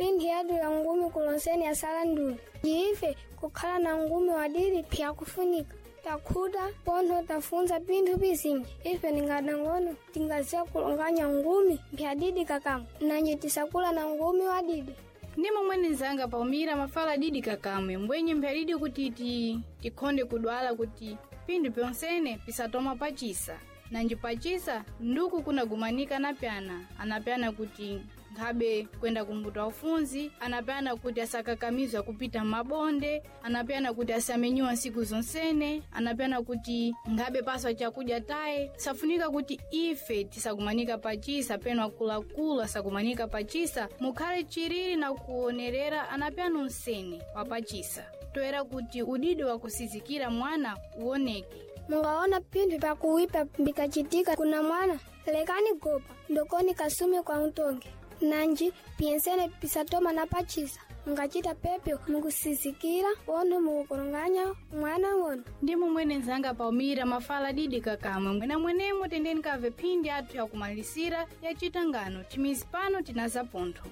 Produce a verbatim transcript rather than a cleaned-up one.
Pindi yadu ya ngumi kulonseni asala ndulu. Ife kukhala na ngumi wadidi pyakufunika. Takhuta pontho tafunza pinthu pizinji ife ningadangono tingaziya kulonganya ngumi mpyadidi kakamwe nanje tisakula na ngumi wadidi. Ndi momwe nzanga Palmira mafala didi kakamwe mbwenye mpyadidi kuti ti tikhonde kudwala kuti pinthu pyonsene pisatoma pacisa nanji pacisa nduku kunagumanika anapyana anapyana kuti nkhabe kwenda kumbuto aufunzi anapyana kuti asakakamizwa kupita mabonde anapyana kuti asamenyiwa nsiku zonsene anapyana kuti nkhabe paswa chakudya taye safunika kuti ife tisakumanika pachisa peno akuluakulu asakumanika pachisa mukhale chiriri na kuonerera anapyana unsene wapachisa toera kuti udidi wakusizikira mwana uoneke. Mungaona pinthu pakuwipa bikachitika kuna mwana lekani gopa ndokoni kasume kwa utonge nanji piyensene pisatoma na pachisa mungachita pepyo mukusizikira wono mukukoronganya mwana wono. Ndi momwene nzanga Palmira mafala didi kakamwe mwena mwenemo tendeni kave phindi athu yakumalisira yachita ngano chimizi pano tinaza pontho.